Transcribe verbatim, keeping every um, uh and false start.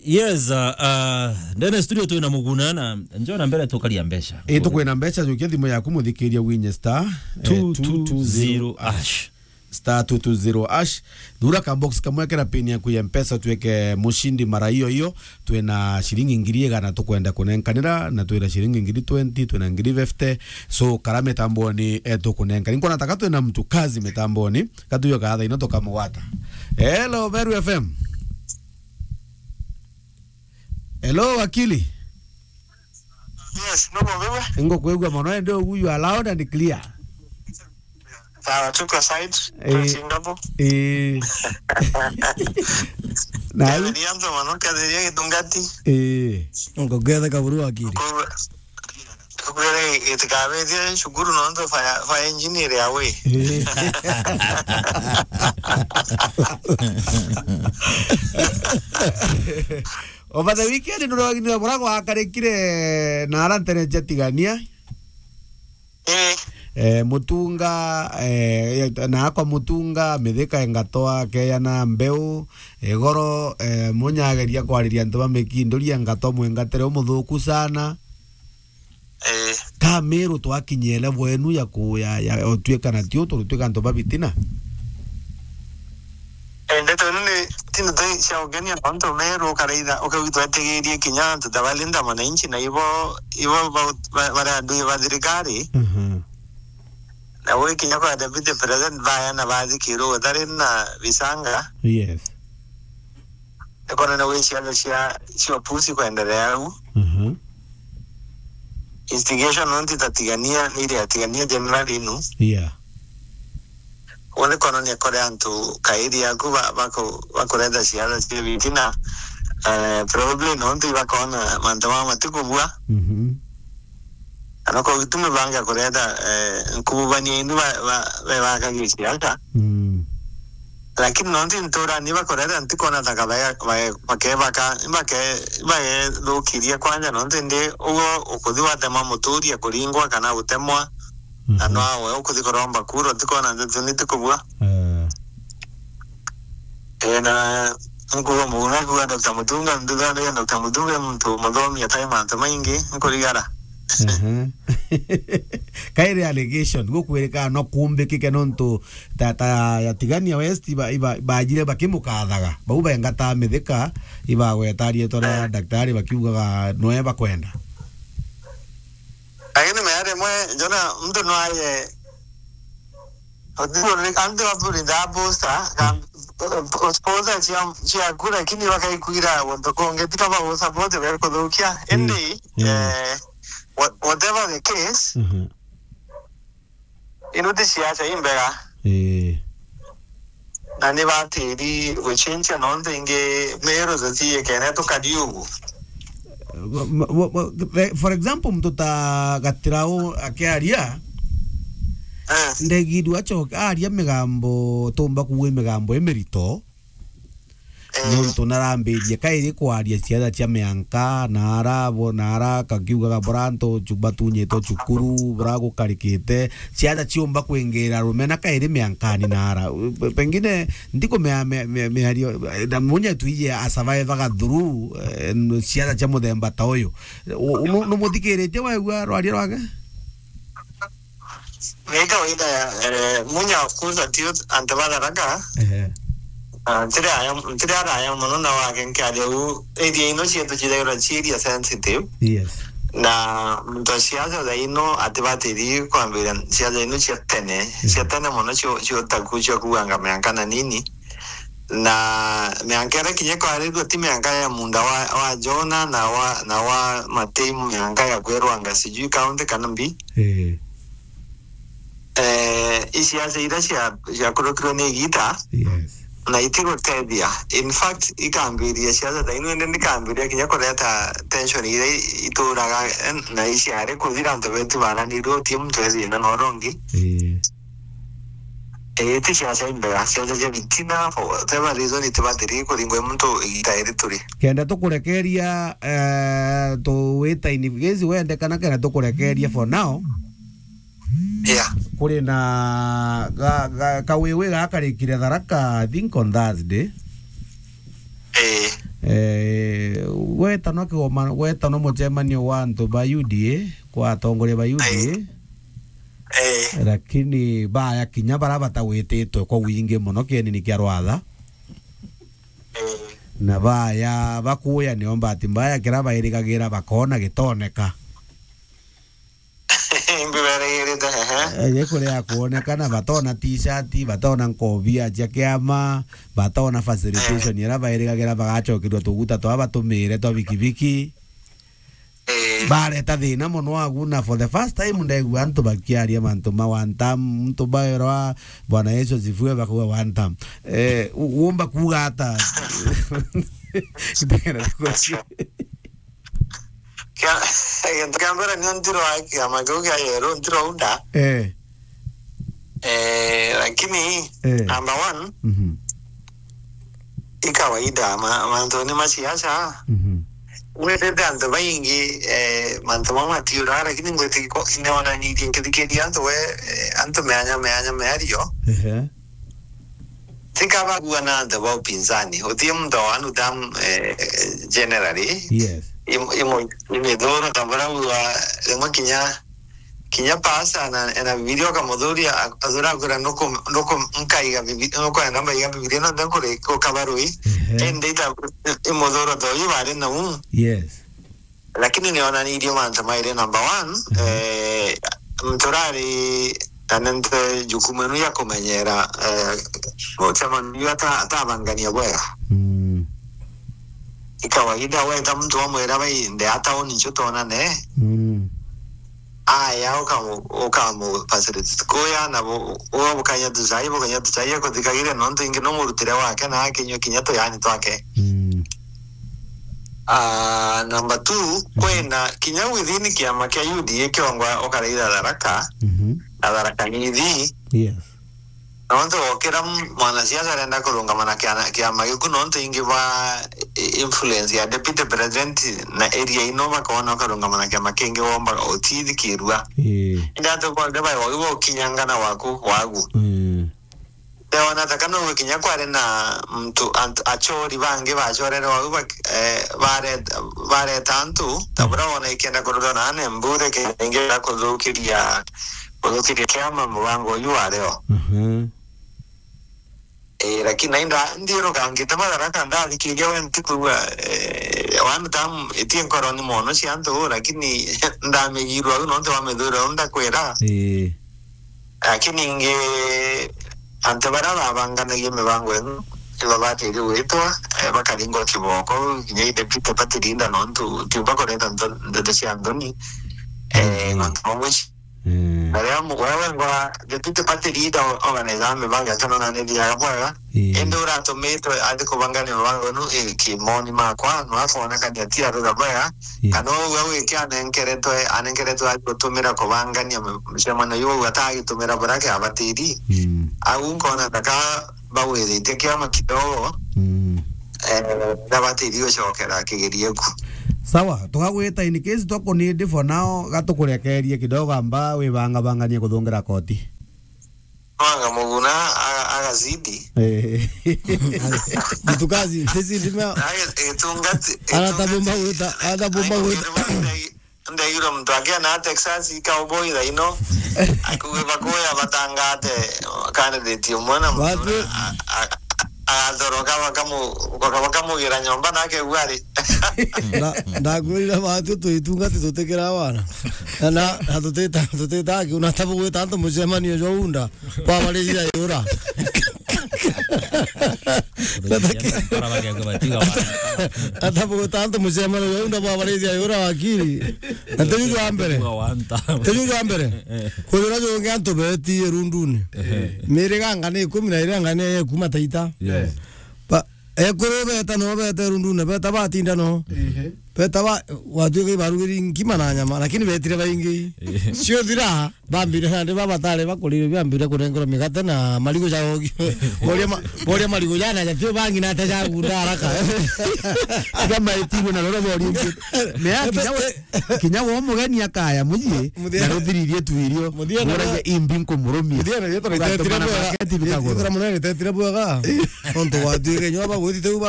Yes, uh, uh, ndene studio twina Muguna na njona mbere tukaria mbeca. Ii, tukwina mbeca, jukia thimu yaku muthikiria winye star, eh, two two zero hash. Star two two zero hash. Thura ka box kamwe, kera pin yaku ya Mpesa, tuike mushindi mara iyo iyo. Twina ciringi ngiri igana tukwenda kunenkanira, na twina ciringi ngiri twenty, twina ngiri fifty. So, kara mitamboni, eh, tukunenka. Ninkona taka twina mtu kazi mitamboni, katuyo ka thaa ino tukamugwata. Hello, Meru F M. Hello, wakili. Yes, no problem. Ingo kwigua mono, ende ugu, you are loud and clear. Sawa, tuko side. Eh, Singapore. Eh. Na Eh, nianza mwanamke atheria gitungati. Eh. Ngogwethe kaburu wakiri. Kwa, kwa gitikabeithia cukuru nontu fire, fire engineer awe. Eh. Over the weekend nurogini bura gwakarikire na ara ntere cia Tigania. Eh. Eh, Mutunga, eh, na akwa Mutunga, Mithika engatwa, Keyana, Mbeu, Igoro, eh, Munyageria kwariria antu ba Mikinduri engatwa, mwengatere umuthuku sana. Eh. Ka Meru twakinyia level enu ya ku-, ya, ya, otuika na tio, turituika antu ba bitina. Eh, ndeto ino ni, ti ndeto cia ugenia nontu Meru ukaraitha, ukauga twetigirie kinya antu ta balinda mwananchi na ibo, ibo ba, ba, bari andu ba thirikari. Mhm. Na gwi kinya kwa deputy president baya na bathikirwo gutari na bisanga. Yes. Nikona na gwi ciana cia, cia opusi kwenderea au. Mhm. Instigation nontu itatigania, ni iria atigania general inu. Yeah. Wone kono ni kore antu kairi yaku ba-, baku-, bakureta ciana cia bitina, eh, probably nontu ibakona mantu ma matikubua. Mhm. Kana kwa gitumi banga kureta, eh, nkububania inu ba, ba, be bakagia ciana. Mm. Lakini nontu nturani bakureta ntikona taka baya-, baya-, bakebaka, bake-, bagethukiria kwanja nontu ndi ugo ukuthi watema muturia kuringwa kana gutemwa. Na Mhm. nwawe ukuthi kuromba kura, utikona ndeto ni tikubua. Eh. Eh, na nkuga Muguna, kuga Doctor Mutunga, nduthanagia Doctor Mutunga muntu muthomi atai mantu maingi, nkurigara. Ehe. Kairi allegation, gukwirika no kumbikike nontu ta, ta ya Tigania West iba, iba, bajire bakimukathaga. Bau bengata Mithika, ibagweta rietwa ria Eh. daktari bakiugaga noe bakwenda. Lakini mea rimwe, njona muntu no aye, antu baburinda poster, ka, poster cia, ciaku, lakini bakaikuira guntu kungi, tika bagusupport, bakuthukia. Mm. Indi, Mm. eh, wha-, whatever the case, Mhm. ino ti siasa imbega. Eh. Na ni batiri gucenjia nontu ingi Meru tutiikene tukari ugu. Ma-, ma-, ma-, ma-, re-, for example, muntu ta Gatirau akiaria, Eh. ndegidwa acoke aria migambo, tumba kuuga migambo imirito. Eh. Nontu narambirie kairi kwaria ciana cia mianka, na ara bo, na ara kakiugaga bora antu cu-, batunyitwe cukuru, bora gukarikite, ciana ciumba kwingira rumena kairi miankani na ara. Pe-, pengine ndikumea me-, me-, miario, eh, na munya tuije a survive aga through, eh, n-, ciana cia muthemba ta uyu. U-, nu-, numuthikiritie waigua rwaria rwake? Ni kawaida ya, eh, Munya, of course, ati antu ba Tharaka. Ehe. Ah, ntiri aya, ntiri araya mono na wake nkiaria u, area ino cietu cithairwa ci area sensitive. Yes. Na muntu wa siasa thaa ino atibatiri kwambiria siasa ino cia tene, cia Mhm. tene mono cio, cio taku cia kuanga mianka na nini. Na mianka iria kinya kwarirua ti mianka ya munda wa, wa Jona na wa, na wa Matei, mianka ya kwirwanga sijui county kana mbi. Eh. Eh, i siasa iria cia, ciakurukirwe ni igita, Yes. na itigutethia. In fact, ikambiria siasa ta ino, indi ndikambiria kinya kureta tension iria i-, ituraga, eh, na iciari kuthira antu betu baranirwe, utie muntu ethina na uria ungi. Eh. Eh, ti siasa imbega, siasa cia bitina, for whatever reason, itibatiri kuringwa i muntu igita iri turi. Kenda tukurekeria, eh, tu wita in case wende kana kenda tukurekeria for now. Yeah. Kuri na ga, ga, kawiwi gakarikire Tharaka, I think on Thursday. Eh. Eh, Gwetanwa kigoma-, gwetanwa mucemanio wa antu ba U D A, kwa atongoria ba U D A. Ai. Eh. Lakini baya kinya bara batagwititwe kwa wingi muno kienini kia Rwatha. Eh. Na baya bakuya nio mbati mbaya kira bairigagira bakona gitoneka. Imbi berigirite, ehe. Eh, gikuria kuonekana, batona t-shirt, batona nkobia cia kiama, batona facilitation, eh, iria bairigagira bagacokerua tuguta twa batumire twa bikibiki. Eh. Bareta thina mono agu, na for the first time ndegua antu bakiaria mantu ma one term, muntu baerwa, "Bwana Yesu asifiwe," bakauga, "One term." Eh, u-, umba kuuga ata? Kia-, gintu kia mbere nio ntirwa kiama kiu kia Yero, ntirwa unda. Eh. Eh, lakini, eh, number one, mhm, i kawaida, ma-, mantuni ma siasa. Mhm. Witite antu baingi, eh, mantu mau matiura, lakini ngwiti ko-, neonanirie nkithikiria antu we, eh, antu meanya, meanya, meario. Ehe. Tika bagua na antu ba upinzani. Utie muntu wa one term, eh, generally. Yes. Im-, imo-, imithuro ta buria ugua rimwe kinya, kinya pasa na, na Bibilia ukamuthuria, a-, athura akwira nuku-, nuku-, nkaiga Bibi-, nukwenda mbaiga Bibilia no nde nkuri-, kukabarui. Ehe. Indi ita imuthuro ta uyu bari nau. Yes. Lakini nionanirie mantu mairi. Number one, mhm, eh, nturari na nente jukumu inu ya kumenyera, eh, mucemanio ata-, atabangania bwega. Mm. I kawaida weta muntu wamwira bai nde ataoni nchu tonane. Mm. Aya ukamu-, ukamu facilitate kuya na bu-, uwe bukanya tuchai, bukanya tuchai akuthikagiria nontu ingi no murutire wake na akinyua kinya tuyani twake. Mm. Ah, number two, mhm, kwina kinya within kiama kia U D A kiongwa ukaraira Tharaka, mhm, na Tharaka Nithi. Yes. Nontu gukira m-, mwanasiasa arenda kurungama na kiana-, kiama giku, nontu ingi ba i-, influence ya deputy president na area ino bakona ukarungama na kiama kingi womba utithikirua. Ii. Indi antu bonthe bai wau bokinyangana waku, wagu. Mm. Ndona ta kana ugikinya kwari na muntu, antu, achori bangi bacorere wau bak-, eh, baret-, bareta antu, ta, mm, buria wona ikienda kurutwa na ane mbure kenda ingi ya kuthukiria, kuthukiria kiama mubango uyu wario. Mhm. Eh, lakini nainda ndiruka ngitema Tharaka ndathikiria we ntikwigua, eh, one term itie nkoroni mono cia antu, lakini ndamigirwa au nontu wa mithuro au ndakwira. Ii. Lakini ingi antu baria babanganagia mibango ino ibabatiri gwitwa, eh, bakaringwa kiboko, kinya i deputy party leader nontu tiumba kureta nto-, ndeto cia nthoni. Eh, mm, mantu mamwe ci-, mm, na riria mu-, wewe ngora deputy party leader o-, organize mibango yake nona ni thiaga bwega. Ii. Indi uratumitwe athi kubangania mibango ino, eh, kimoni makwa, no akonekania ti arura bwega. Yes. Kana uu au iki anenkeretwe, anenkeretwe athi gutumira kubangania mi-, micemanio iu au atagitumira buria kiabatiri. Mm. Au nkona ta ka bagwithitie kiama kidogo. Mm. Eh, ndabatiri gucokera kigerio ku. Sawa, tukagwita in case twakunindi for now, gatukurekerie kidogo amba wibangabanganie kuthungira koti. Mwanga muguna aga-, agazidi. Eh. Mtukazi, tizidi mea. Aga-, itungati-, itungati-, anatabumba gwita, anatabumba gwita. Ndaigirwe muntu akia na Texas cowboy thaino. Akuge bakuya batangate candidate umwe na muntu a-, a-, a-, agathoroka bakamu-, baka-, bakamugira nyomba nake gwari. Na, ndakwirire batu tuitungati tutikira wana. Na, na, na tutita, tutita aki, unatabu gwita antu mucemanio jwa unda. Bwabarithia yura. Ata bugwita antu mucemanio juu nda bwabarithia yura wakiri. Na tiju jwa mbere. Tiju jwa mbere. Kwithira jungi antu beti irunduni. Miriga anga ni ikumi na iri anga ni ya kuma Taita. Yes. Ba, ekuru beta no beta irunduni, beta batinda no. Ehe. Beta ba, watuika ibarugiri nkima na nyama, lakini betire baingi. Cio thira, bambire nandi babatare bakurire, bambire kurengerwa migate na marigu ja ogi. Boria ma-, boria marigu jana ja tio bangi na ta ja gunda haraka. Tiga maitirwe na roro bori ingi. Mea kinya we, kinya wo mugeni akaya muji, na ruthiririe tuirio. Muthia na boragia imbi nkumurumia. Muthia na yetu na itetire bwega. Yetu na munene itetire bwega. Onto watuika nyoba gwitite uba.